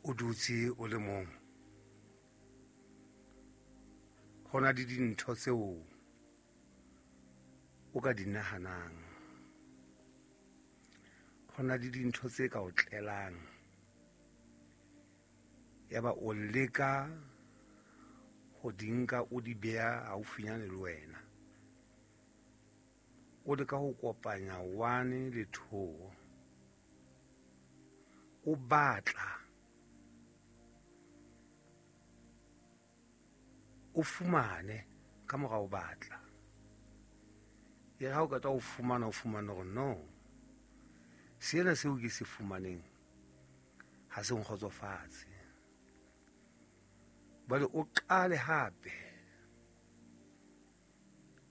O dutse o le mong, ho na le dintho tseo o ka di nahanang, ho na le dintho tse ka o tlelang, yaba o leka ho di nka o di beha haufinyane le wena. O leka ho kopanya one le two, o batla o fumane ka mora o batla. E re ha o qeta ho fumana, o fumane hore no, sena seo ke se fumaneng ha se nkgotsofatse. Jwale o qale hape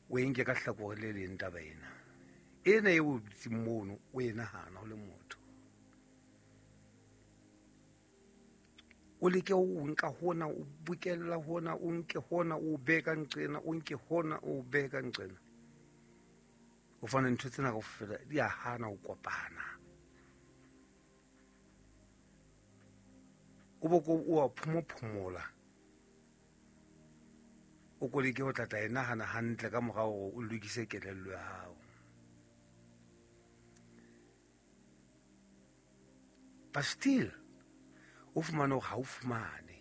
o e nke ka hlakore le leng taba ena. Ena eo o dutseng mono o e nahana o le motho. O leke ho nka hona, o bokella hona, o nke hona, o behe ka nqena, o nke hona, o behe ka nqena. O fane ntho tsena kaofela di a hana ho kopana. O bo ko o a phomophomola. O ko leke ho tlatla e nahana hantle ka mora hore o lokise kelello ya hao. But still, o fumane hore ha o fumane.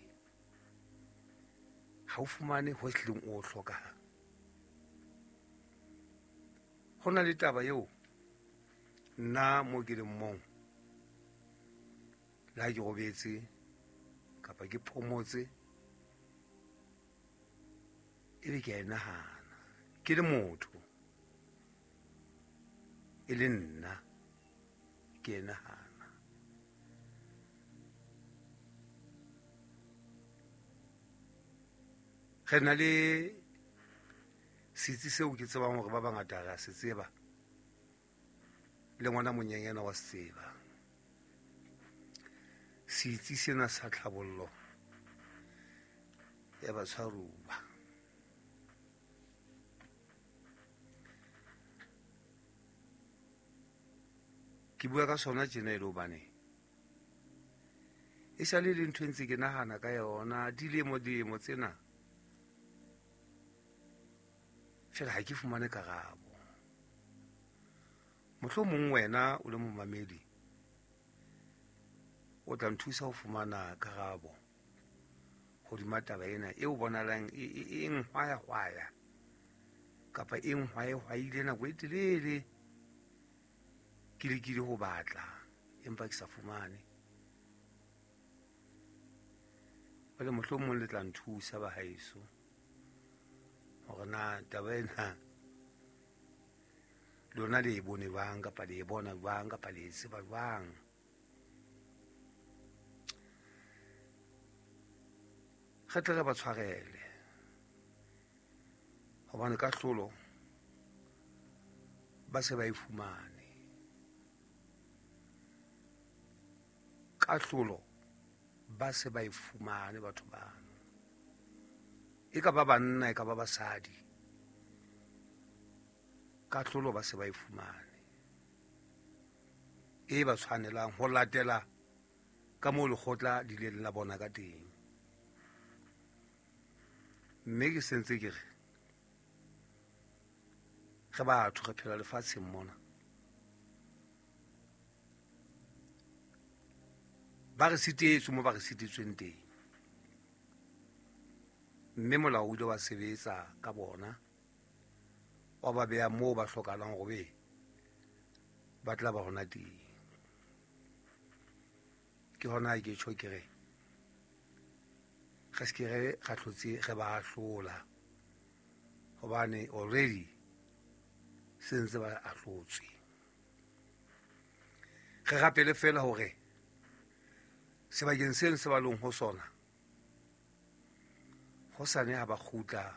Ha o fumane ho ehlileng o hlokang. Ho na le taba eo nna mo ke leng mong, le ha ke robetse kapa ke phomotse, ebe ke a e nahana ke le motho, e le nna ke e nahana. Re na le setsi seo ke tsebang hore ba bangata re a se tseba, le ngwana monyenyana wa se tseba. Setsi sena sa tlhabollo ya batshwaruwa. Ke bua ka sona tjena e le hobane e sale le ntho e ntse ke nahana ka yona dilemo dilemo tsena, fela ha ke fumane karabo. Mohlomong wena o le momamedi o tla nthusa ho fumana karabo hodima taba ena e o bonalang e nhwaya-hwaya kapa e nhwaye-hwaile nako e telele. Ke lekile ho batla empa ke sa fumane. Jwale mohlomong le tla nthusa ba haeso hore na taba ena lona le e bone jwang kapa le e bona jwang kapa le e tseba jwang. Re tle re ba tshwarele hobane kahlolo ba se ba e fumane. Kahlolo ba se ba e fumane batho bano, e ka ba banna e ka ba basadi, kahlolo ba se ba e fumane e ba tshwanelang ho latela ka moo lekgotla le ileng la bona ka teng. Mme ke sentse ke re re batho re phela lefatsheng mona, ba re sitetswe mo ba re sitetsweng teng, mme molao o ile wa sebetsa ka bona, wa ba beha moo ba hlokahalang hore be ba tla ba hona teng. Ke hona ke tjho ke re re se ke re ra hlotse re ba ahlola, hobane already se ntse ba ahlotswe. Re rapele fela hore sebakeng seno se ba leng ho sona, hosane ha ba kgutla,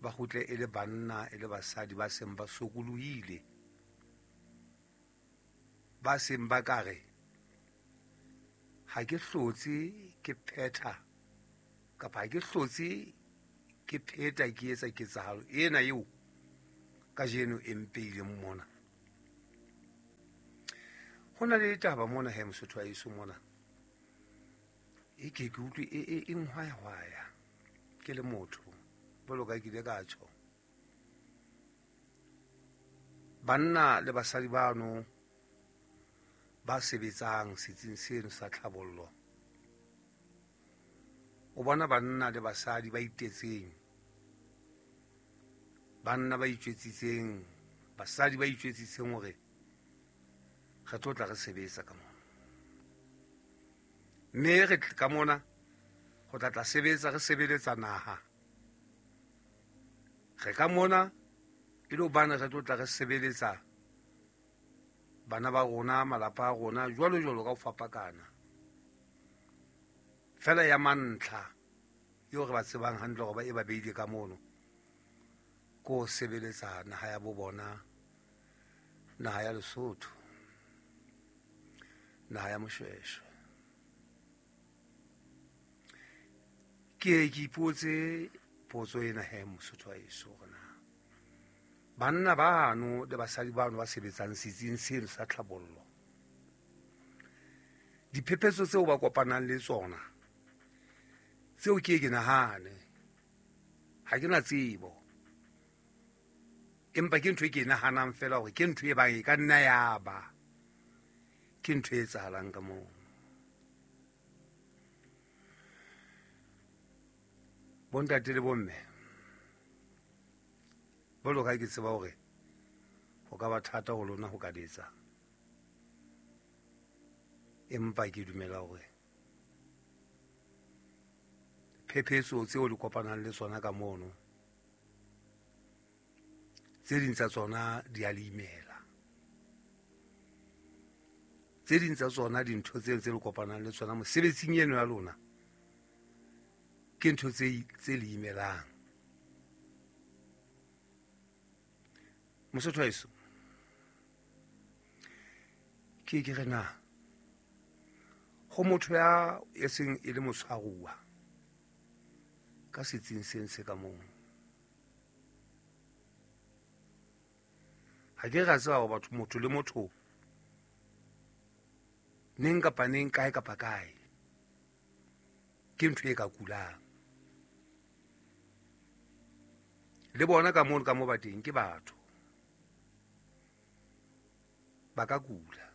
ba kgutle e le banna e le basadi ba seng ba sokolohile, ba seng ba ka re ha ke hlotse ke phetha kapa ha ke hlotse ke pheta ke etsa ketsahalo ena eo kajeno e mpeileng mona. Ho na le ditaba mona he, Mosotho wa heso mona. E ke ke utlwe e nhwayahwaya ke le motho jwalo ka ke ile ka tjho. Banna le basadi bano ba sebetsang setsing seno sa tlhabollo, o bona banna le basadi ba itetseng, banna ba itjwetsitseng, basadi ba itjwetsitseng hore re tlo tla re sebetsa ka mona, mme re ka mona ho tla tla sebetsa, re sebeletsa naha. Re ka mona e le hobane re tlo tla re sebeletsa bana ba rona, malapa a rona, jwalo jwalo ka ho fapakana. Fela ya mantlha eo re ba tsebang hantle hore ba e ba beile ka mono, ko sebeletsa naha ya bo bona, naha ya Lesotho, naha ya Moshweshwe. Ke ke ipotse potso ena he, Mosotho wa heso, hore na banna bano le basadi bano ba sebetsang setsing seno sa tlhabollo, diphephetso tseo ba kopanang le tsona tseo ke ke nahane, ha ke na tsebo, empa ke ntho e ke e nahanang fela hore ke ntho e bang e ka nna ya ba ke ntho e etsahalang ka moo. Bontate le bomme, jwalo ka ke tseba hore ho ka ba thata ho lona ho ka letsa, empa ke dumela hore phephetso tseo le kopanang le tsona ka mono, tse ding tsa tsona di a le imela, tse ding tsa tsona dintho tseo tse le kopanang le tsona mosebetsing eno ya lona ke ntho tse le imelang. Mosotho wa heso, ke ke re na ho motho ya e seng e le motshwaruwa ka setsing seng se ka moo, ha ke ra tseba hore batho, motho le motho neng kapa neng, kae kapa kae, ke ntho e ka kulang. Le bona ka mono ka mo ba teng ke batho, ba ka kula.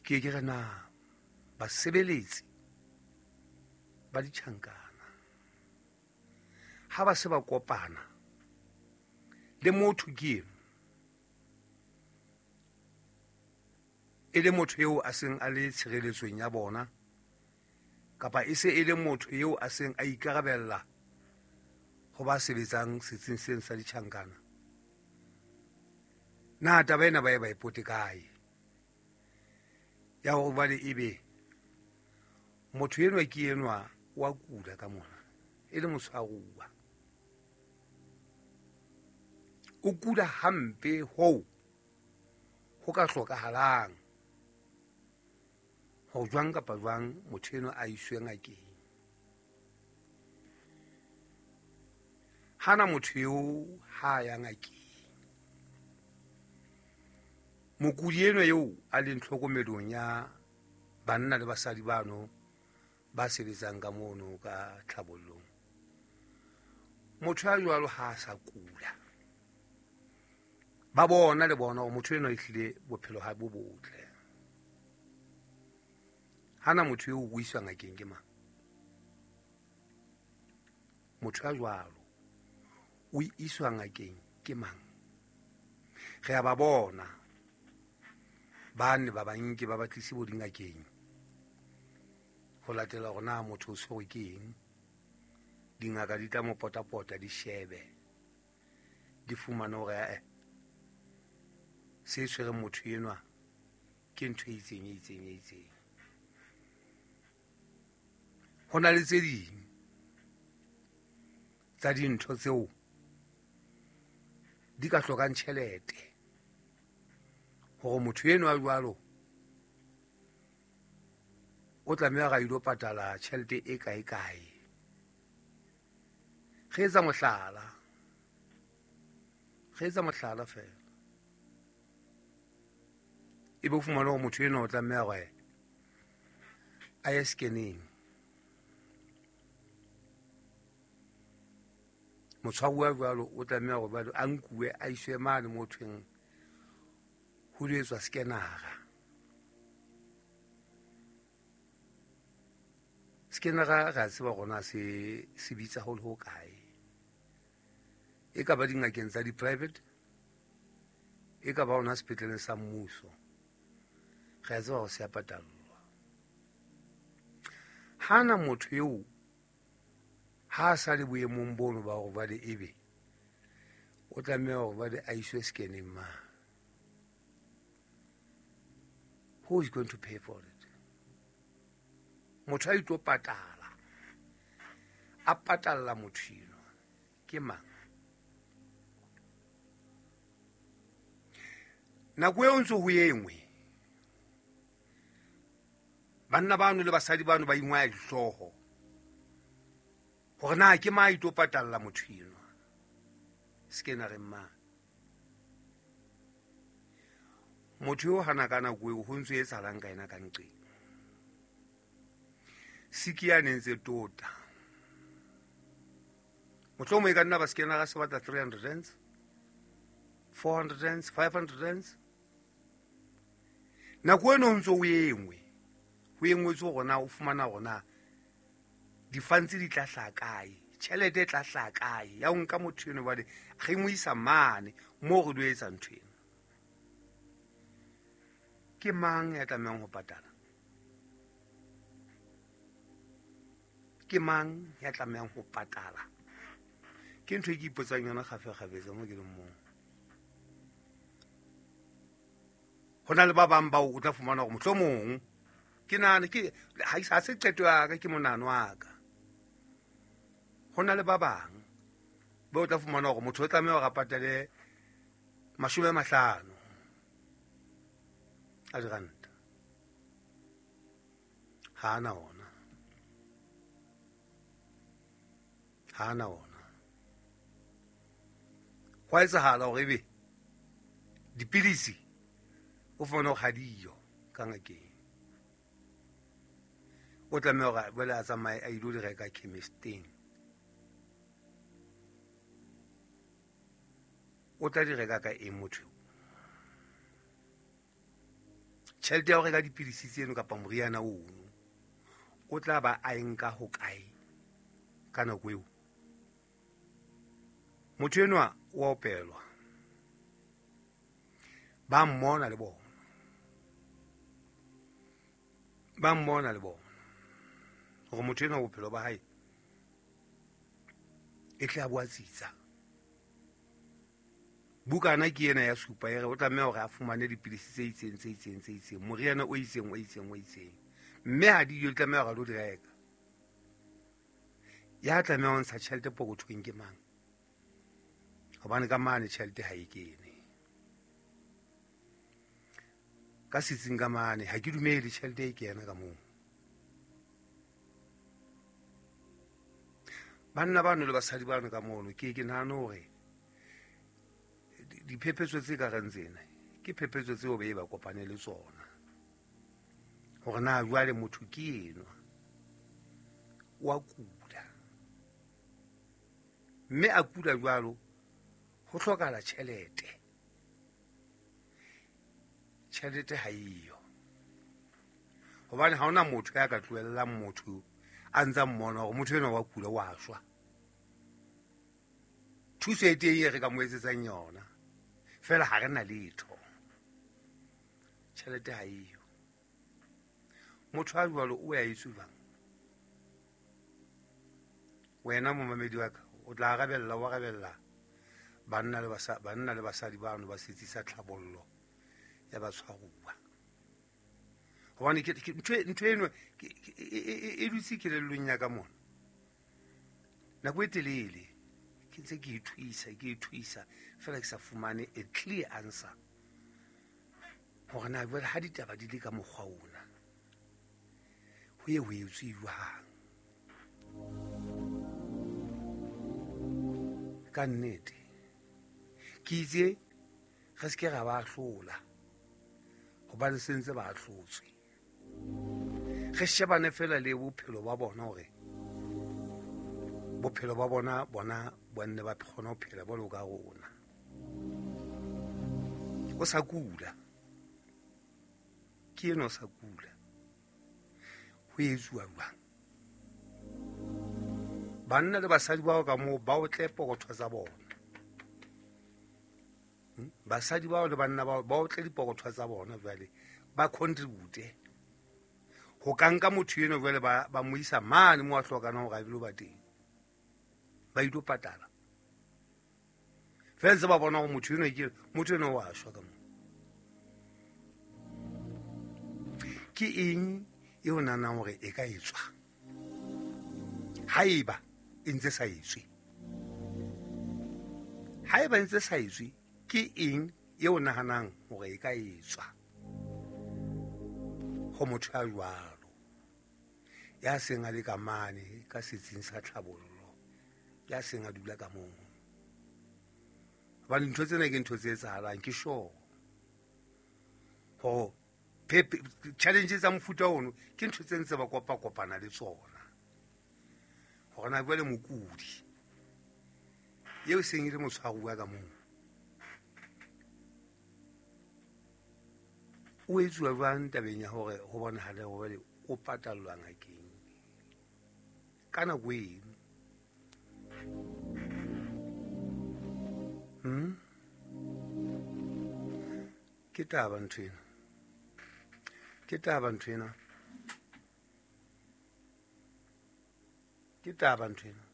Ke ke re na basebeletsi ba ditjhankana ha ba se ba kopana le motho ke eno, e le motho eo a seng a le tshireletsong ya bona, kapa e se e le motho eo a seng a ikarabella ho ba sebetsang setsing seng sa ditjhankana, na taba ena ba e ba e pote kae ya hore jwale ebe motho enwa ke enwa wa kula ka mona, e le motshwaruwa, o kula hampe hoo ho ka hlokahalang hore jwang kapa jwang motho enwa a iswe ngakeng. Hana motho eo ha ya ngakeng, mokudi enwa eo a leng tlhokomelong ya banna le basadi bano ba sebetsang ka mono ka tlhabollong, motho ya jwalo ha a sa kula, ba bona le bona hore motho enwa ehlile bophelo ha bo botle. Hana motho eo o iswa ngakeng ke mang? Motho ya jwalo o iswa ngakeng ke mang? Re a ba bona ba ne ba banke ba batlise bo dingakeng ho latela hore na motho o tshwerwe ke eng. Dingaka di tla mo potapota, di shebe, di fumane hore se tshwereng motho enwa ke ntho e itseng, e itseng, e itseng. Ho na le tse ding tsa dintho tseo di ka hlokang tjhelete hore motho enwa jwalo o tlameha ra ilo patala tjhelete e kae kae. Re etsa mohlala, re etsa mohlala fela. E be o fumane gore motho enwa o tlameha gore a ye scanning. Motshwaruwa jwalo o tlameha gore jwale a nkuwe a iswe mane mo thweng ho lo etswa scanner-a. Scanner-a re a tseba gore na se se bitsa ho le ho kae. E ka ba dingakeng tsa di-private, e ka ba hona sepetleleng sa mmuso. Re a tseba gore se a patallwa. Hana motho eo ha a sa le boemong bono ba hore jwale ebe o tlameha hore jwale a iswe scanning mane. Who is going to pay for it? Motho a itlo patala, a patalla motho enwa ke mang? Nako eo ntse ho engwe, banna bano le basadi bano ba ingwaya dihlooho hore na ke mang a itlo patalla motho enwa scannereng mane. Motho eo hana ka nako eo ho ntso etsahalang ka yena ka nqeng. Siki ya ne ntse tota. Mohlomong e ka nna ba scanner se batla 300 rands, 400 rands, 500 rands. Nako eno ho ntso o engwe, ho engwetswe hore na o fumana hore na di-funds di tla hlaha kae, tjhelete e tla hlaha kae ya ho nka motho eno jwale re mo isa mane moo re lo etsa ntho ena. Ke mang ya tlamehang ho patala? Ke mang ya tlamehang ho patala? Ke ntho e ke ipotsang yona kgafekgafetsa mo ke leng moo. Ho na le ba bang bao o tla fumana hore mohlomong ke nahana ke ha se qeto ya ka, ke monahano wa ka. Ho na le ba bang bao o tla fumana hore motho o tlameha hore a patale 50 a diranta. Ha ana ona. Ha ana ona. Hwa etsahala hore ebe dipilisi o fumane hore ha diyo ka ngakeng. O tlameha hore jwale a tsamaye a ilo di reka chemisteng. O tla di reka ka eng motho eo? Tjhelete ya ho reka dipilisi tseno kapa moriana ono o tla ba a e nka ho kae ka nako eo? Motho enwa o a opelwa, ba mmona le bona, ba mmona le bona hore motho enwa bophelo ba hae e tle a bo a tsitsa. Bukana ke ena ya supa e re o tlameha hore a fumane dipilisi tse itseng, tse itseng, tse itseng, moriana o itseng, o itseng, o itseng, mme ha dijo di tlameha hore a lo di reka. Ya tlameha ho ntsha tjhelete pokothong ke mang? Hobane ka mane tjhelete ha e kene. Ka setsing ka mane ha ke dumele tjhelete e kena ka moo. Banna bano le basadi bano ka mono ke nahane hore diphephetso tse ka reng tsena ke phephetso tseo be ba kopane le tsona. Hore na jwale motho ke enwa wa kula, mme a kula jwalo ho hlokahala tjhelete. Tjhelete ha eyo, hobane ha hona motho ya ka tlohellang motho a ntsa mmona hore motho enwa wa kula wa shwa. Thuso e teng e re ka mo etsetsang yona, feela ha re na letho. Tjhelete ha eyo. Motho a jwalo o ya etswe jwang? Wena momamedi wa ka o tla arabella, o arabella banna le banna le basadi bano ba setsi sa tlhabollo ya batshwaruwa. Hobane ntho eno e dutse kelellong ya ka mona nako e telele, ke ntse ke ithuisa feela ke sa fumane a clear answer hore na jwale ha ditaba di le ka mokgwa ona ho ye ho etswe jwang. Ka nnete ke itse re se ke ra ba hlola, Hobane se ntse ba ahlotswe. Re shebane fela le bophelo ba bona hore bophelo ba bona bona ba nne ba kgone ho phela bolo ka rona. O sa kula. Ke eno o sa kula. Ho etsuwa jwang? Banna le basadi bao ka moo ba otle pokotho tsa bona. Basadi bao le banna bao ba otle dipokotho tsa bona jwale ba contribute. Ho ka nka motho eno jwale ba mo isa mane mo a hlokang hore a dilo ba teng. Ba ilo patala. Fela ntse ba bona hore motho eno ke motho eno wa shwa ka moo. Ke eng e o nahanang hore e ka etswa? Haeba e ntse sa etswe. Haeba e ntse sa etswe, ke eng e o nahanang hore e ka etswa ho motho ya jwalo ya seng a le ka mane ka setsing sa tlhabollo, ya seng a dula ka moo? Hobane dintho tsena ke ntho tse etsahalang, ke sure hore challenge tsa mofuta ono ke ntho tse ntse ba kopa-kopana le tsona. Hore na jwale mokudi eo seng e le motshwaruwa ka moo o etsuwa jwang tabeng ya hore ho bonahale hore o patallwa ngakeng ka nako eno? Ke taba ntho ena. Ke taba ntho ena. Ke taba ntho ena.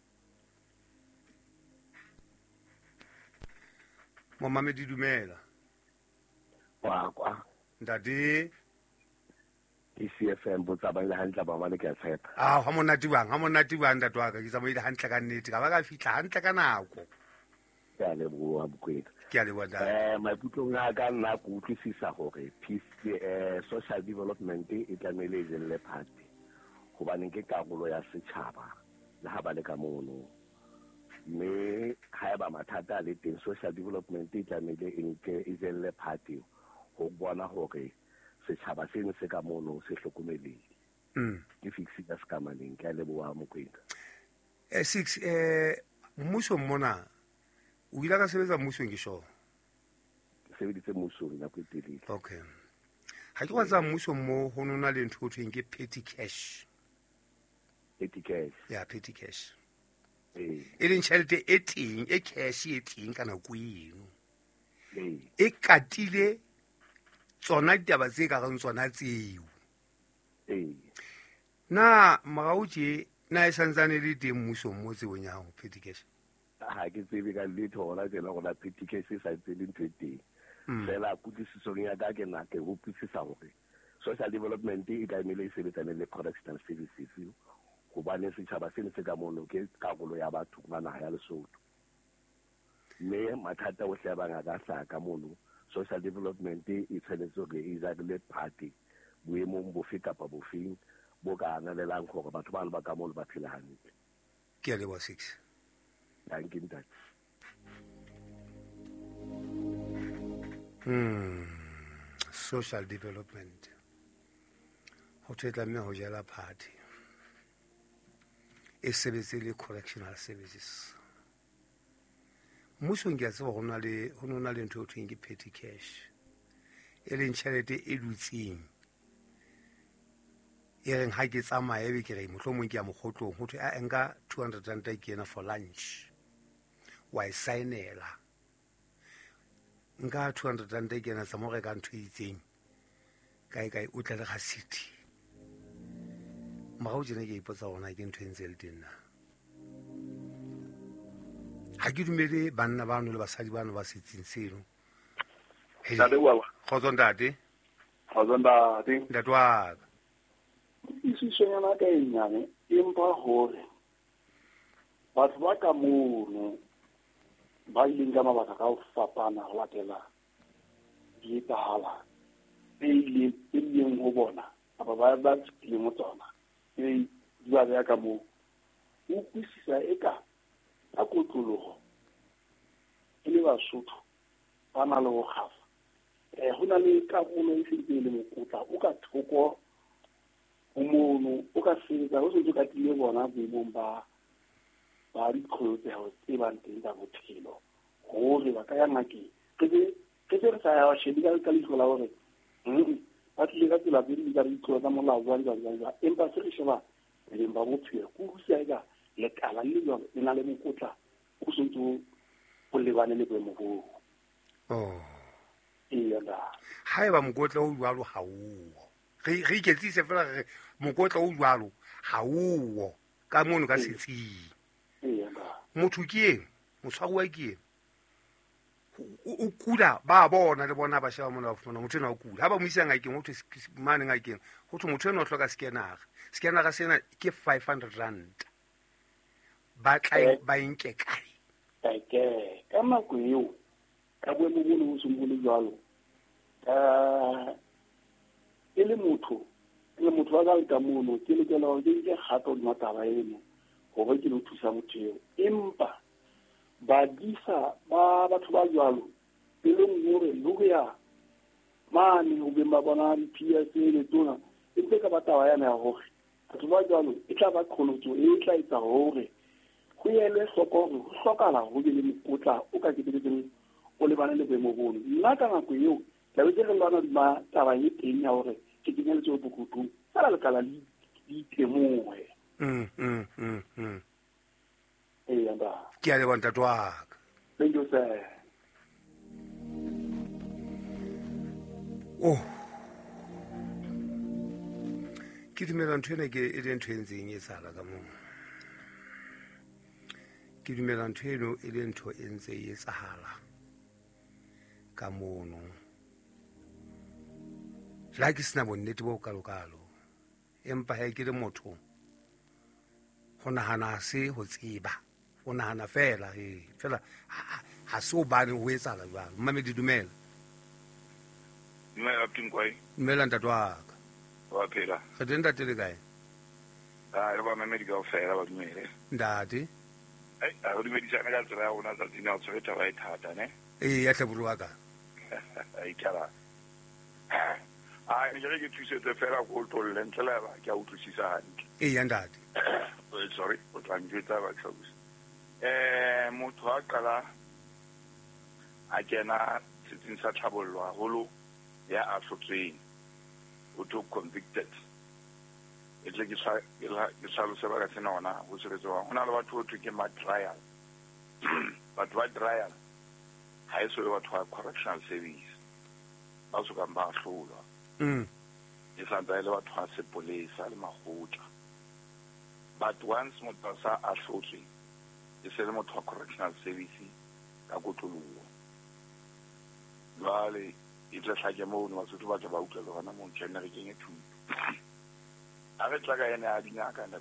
Momamedi dumela. Kwa kwa. Ntate. Ke CFM bo tsamaile hantle ba bane ke a tshepa. Ah, ha monate bang, ha monate bang ntate wa ka, ke tsamaile hantle ka nnete, ka ba ka fihla hantle ka nako. Ke a leboha Mokwena. Ke a leboha ntate. Maikutlong a ka nna ke utlwisisa hore peace, social development e tlamehile e jelle phate, hobane ke karolo ya setjhaba le ha ba le ka mono. Mme haeba mathata a le teng, social development e tlamehile e nke e jelle phate ho bona hore setjhaba seno se ka mono se hlokomelehile. Ke fix ka sekamaneng. Ke a leboha Mokwena. Six, mmusong mona o ile ka sebetsa mmusong ke sure? Ke sebeditse mmusong nako e telele. Okay. Ha ke kwatsa mmusong mo ho nona le ntho ho thweng ke petty cash. Petty cash. Ya, petty cash. E leng tjhelete e teng, e cash e teng ka nako eno. E katile tsona ditaba tse ka reng tsona tseo. Na morao tje na e santsane le teng mmusong mo tsebong ya hao petty cash? Ha ke tsebe ka letho hona tjena hore na petty cash e sa ntse le ntho e teng. Fela kutlwisisong ya ka ke na ke utlwisisa hore social development e tlamehile e sebetsane le correctional services, hobane setjhaba seno se ka mono ke karolo ya batho ba naha ya Lesotho. Mme mathata ohle a bang a ka hlaha ka mono, social development e tshwanetse hore e jarile phate boemong bofe kapa bofeng bo ka analelang hore batho bano ba ka mono ba phele hantle. Ke a leboha, Six. Danke, ntate. Social development. Ho thwe tlameha ho jela phate. E sebetse le correctional services. Mmusong ke a tseba ho na le, ho no na le ntho e thweng ke petty cash. E leng tjhelete e dutseng. E reng ha ke tsamaya ebe ke re mohlomong ke ya mokgotlong, ho thwe a nka 200 rand ke ena for lunch. Wa e saenela. Nka 200 rand ke ena tsamaya o reka ntho e itseng. Kae kae o tle le ga city. Morao tjena ke ipotsa hore na ke ntho e ntse e le teng na. Ha ke dumele banna bano le basadi bano ba setsing seno. Ntate wa ka. Kgotso ntate. Kgotso ntate. Ntate wa ka. Kutlwisisonyana ka e nyane, empa hore batho ba ka mono ba ileng ka mabaka ka ho fapana ho latela di etsahala tse ileng, tse ileng ho bona kapa ba fetileng ho tsona, tse di ba beha ka moo. O utlwisisa eka ka kotloloho e le Basotho ba na le ho kgafa. Ho na le karolo e sentse e le mokotla o ka thoko ho mono o ka sebetsa o sentse o ka tile bona boemong ba diqholotseho tse bang teng tsa bophelo hore ba ka ya ngakeng. Re se re sa ya shebe ka leihlo la hore ba tlile ka tsela tse ding tsa ditlolo tsa molao jwang jwang jwang jwang, empa se re sheba boleng ba bophelo ke utlwisisa eka lekala le jwalo le na le mokotla o sentse o lebane le boemo boo. Haeba mokotla o jwalo ha o re iketsise fela re mokotla o jwalo ha o ka mono ka setsing. Motho ke eng, motshwaruwa ke eng, o kula ba bona le bona ba sheba mona ba fumana motho ena o kula. Ha ba mo isa ngakeng ho thwe mane ngakeng ho thwe motho ena o hloka scanner. Scanner sena ke 500 rand. Ba tla ba nke kae? Ka nako eo ka boemo bo bo seng bo le jwalo, e le motho wa ka ka mono ke lokela hore ke nke kgato hodima taba eno hore ke lo thusa motho eo. Empa badisa ba batho ba jwalo e leng hore le ho ya mane ho beng ba bona di-PS le tsona e ntse ka ba taba yana ya hore batho ba jwalo e tla ba qholotso e tla etsa hore ho elwe hloko hore ho hlokahala ho be le mokotla o ka keteletseng o lebane le boemo bono. Nna ka nako eo tla be ke re lwana hodima taba e teng ya hore ke kenye letsoho pokothong fela lekala le itemohe. Ke a leboha ntate wa ka. Thank you, sir. Oh, ke dumela ntho ena ke e le ntho e ntseng e etsahala ka moo. Ke dumela ntho eno e le ntho e ntse e etsahala ka mono. Le ha ke sena bonnete bo kalokalo, empa ha ke le motho ho nahana se ho tseba, o nahana fela fela ha se o bane ho etsahala jwalo. Mmamedi dumela. Dumela Pinkwai. Dumela ntate wa ka. Wa phela. Re teng ntate le kae? Ah, le ba mamedi kaofela ba dumele. Ntate. Ai, a re dumedisane ka tsela ya rona tsatsing la ho tshwere taba e thata ne. Ee, ya tlhaburu wa ka. Ai tjala. Ah, ne ke re ke thusetse fela ko tolle ntle le ba ke a utlwisisa hantle. Ee, ya ntate. Sorry, o tla njwetsa ba tlhalosa. Motho a qala a kena setsing sa tlhabollo haholo ya ahlotsweng, o to convicted. E tle ke hlalose baka sena hona ho sebetsa jwang. Ho na le batho ho thwe ke ma trial. Batho ba trial ha e so be batho ba correctional service ba sokang ba ahlolwa. E santse e le batho ba sepolesa le makgotla. But once motho a sa ahlotswe e se le motho wa correctional service ka kotloloho. Jwale e tle hlake mono Basotho ba tle ba utlwe le hona moo tjhe nne re kenye thuto. Ha re tla ka ena ya dingaka.